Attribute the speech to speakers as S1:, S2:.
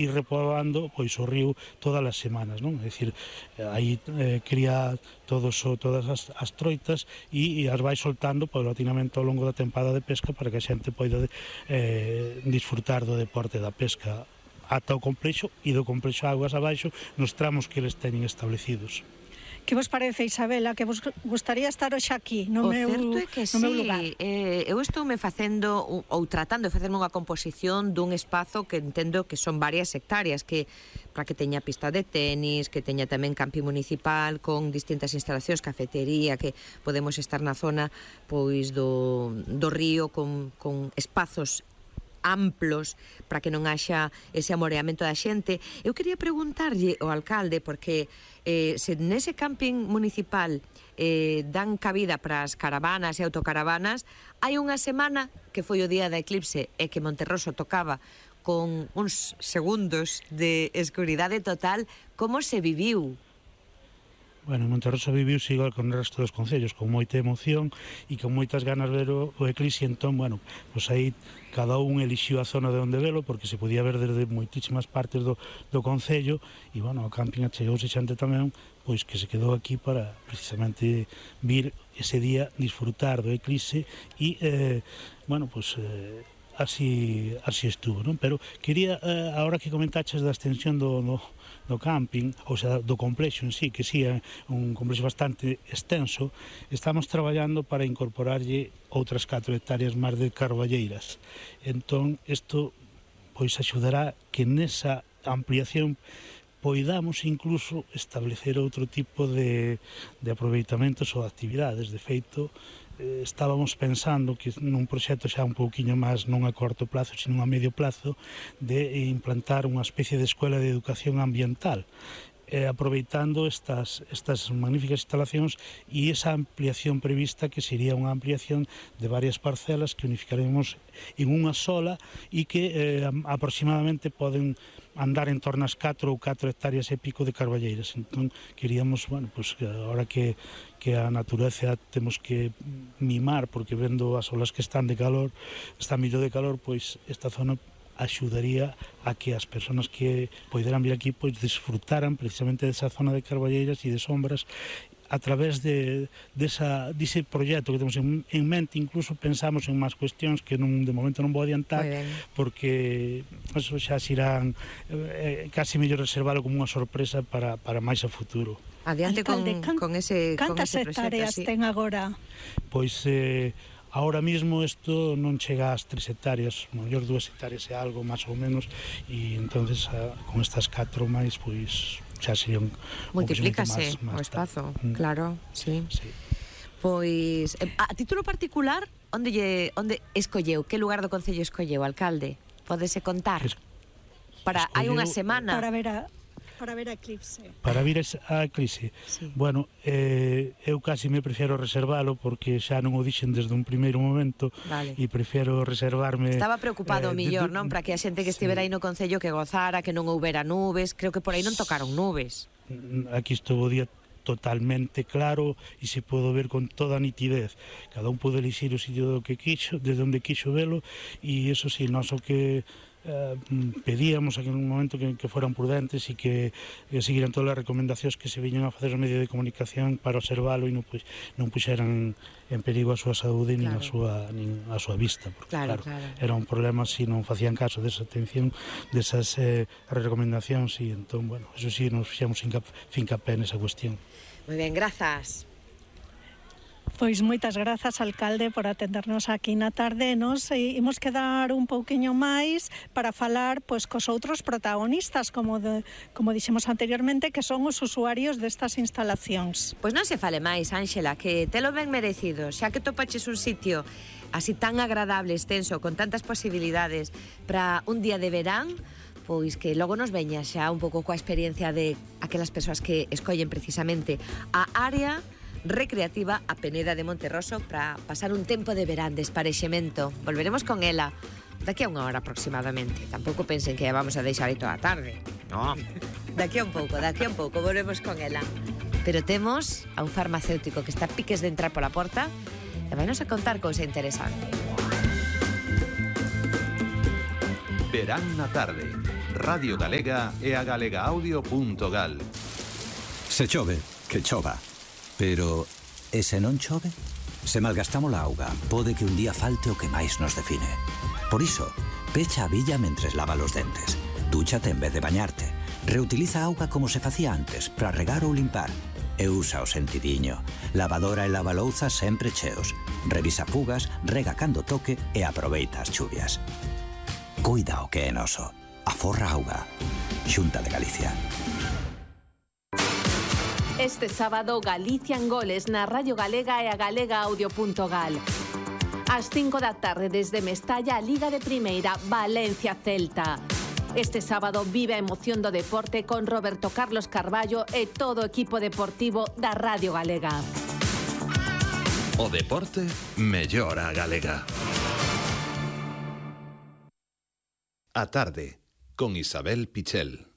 S1: ir repoblando pois o río todas as semanas, non? É dicir, aí cría todas as troitas e as vai soltando paulatinamente ao longo da tempada de pesca para que a xente poida disfrutar do deporte da pesca ata o complexo e do complexo aguas abaixo nos tramos que eles teñen establecidos.
S2: Que vos parece, Isabela, que vos gustaría estar hoxe aquí no meu lugar?
S3: O certo é que sí, eu estoume facendo ou tratando de facerme unha composición dun espazo que entendo que son varias hectáreas, que para que teña pista de tenis, que teña tamén campi municipal con distintas instalacións, cafetería, que podemos estar na zona pois do río con espazos amplos para que non haxa ese amoreamento da xente. Eu quería preguntarlle ao alcalde, porque se nese camping municipal dan cabida para as caravanas e autocaravanas, hai unha semana que foi o día da eclipse e que Monterroso tocaba con uns segundos de escuridade total. Como se viviu?
S1: Bueno, Monterroso viviuse igual con o resto dos concellos, con moita emoción e con moitas ganas de ver o eclipse. Entón, bueno, pois aí cada un elixiu a zona de onde velo, porque se podía ver desde moitísimas partes do concello, e, bueno, o camping achegouse xente tamén, pois que se quedou aquí para precisamente vir ese día disfrutar do eclipse e, bueno, pois así estuvo, non? Pero quería, agora que comentaches da extensión do camping, ou sea, do complexo en sí, que sí é un complexo bastante extenso, estamos traballando para incorporarlle outras 4 hectáreas máis de carballeiras. Entón, isto pois axudará que nesa ampliación poidamos incluso establecer outro tipo de aproveitamentos ou actividades. De feito, estábamos pensando que nun proxecto xa un pouquiño máis non a corto plazo, sino a medio plazo, de implantar unha especie de escuela de educación ambiental, aproveitando estas magníficas instalacións e esa ampliación prevista, que sería unha ampliación de varias parcelas que unificaremos en unha sola e que aproximadamente poden andar en torno ás 4 ou 4 hectáreas e pico de carballeiras. Entón, queríamos, bueno, pues, ahora que a natureza temos que mimar, porque vendo as olas que están de calor, está millo de calor, pois esta zona axudaría a que as persoas que poideran vir aquí pois disfrutaran precisamente desa zona de carballeiras e de sombras a través dese proxecto que temos en mente. Incluso pensamos en máis cuestións que de momento non vou adiantar, porque eso xa se irán casi mellor reservalo como unha sorpresa para máis a futuro.
S3: Adiante con ese
S2: cantas hectáreas ten agora?
S1: Pois ahora mismo isto non chega ás 3 hectáreas, mellor 2 hectáreas e algo, máis ou menos, e entonces con estas 4 máis, pois xa sería
S3: multiplícase o espazo, claro, sí. Pois, a título particular, onde escolleu? Que lugar do concello escolleu, alcalde? Pódese contar? Hai unha semana.
S2: Para ver a eclipse.
S1: Para ver a eclipse.
S2: Sí.
S1: Bueno, eu casi me prefiero reservalo, porque xa non o dixen desde un primeiro momento, e prefiero reservarme.
S3: Estaba preocupado millor, non? Para que a xente que estivera aí no concello que gozara, que non houbera nubes. Creo que por aí non tocaron nubes.
S1: Aquí estuvo o día totalmente claro e se pode ver con toda a nitidez. Cada un pode elixir o sitio do que quixo, desde onde quixo velo, e eso sí, nós o que pedíamos en un momento que foran prudentes e que seguiran todas as recomendacións que se viñan a facer os medios de comunicación para observalo e non puxeran en perigo a súa saúde nin a súa vista, porque claro, era un problema se non facían caso desa atención, desas recomendacións, e entón, bueno, eso sí, nos fixamos fincapé nesa cuestión.
S3: Moi ben, grazas.
S2: Pois moitas grazas, alcalde, por atendernos aquí na tarde. Nos imos quedar un pouquiño máis para falar pois cos outros protagonistas, como dixemos anteriormente, que son os usuarios destas instalacións.
S3: Pois non se fale máis, Ángela, que telo ben merecido, xa que topaches un sitio así tan agradable, extenso, con tantas posibilidades para un día de verán, pois que logo nos veña xa un pouco coa experiencia de aquelas persoas que escollen precisamente a área recreativa a Peneda de Monterroso para pasar un tempo de verán, de esparexemento. Volveremos con ela daqui a unha hora aproximadamente. Tampouco pensen que vamos a deixar aí toda a tarde. No. Daqui a un pouco volvemos con ela. Pero temos a un farmacéutico que está a piques de entrar pola porta e vai nos a contar cousa interesante.
S4: Verán na tarde. Radio Galega e a galegaaudio.gal.
S5: Se chove, que chova. Pero, e se non chove? Se malgastamos a auga, pode que un día falte o que máis nos define. Por iso, pecha a billa mentres lava os dentes. Dúchate en vez de bañarte. Reutiliza a auga como se facía antes, para regar ou limpar. E usa o sentidiño. Lavadora e lavalouzas sempre cheos. Revisa fugas, rega cando toque e aproveita as chuvias. Cuida o que é noso. Aforra auga. Xunta de Galicia.
S6: Este sábado, Galicia en goles na Radio Galega e a galegaaudio.gal. Ás 5 da tarde desde Mestalla, a Liga de Primeira, Valencia-Celta. Este sábado vive a emoción do deporte con Roberto Carlos Carballo e todo o equipo deportivo da Radio Galega.
S4: O deporte mellora a galega. A tarde, con Isabel Pichel.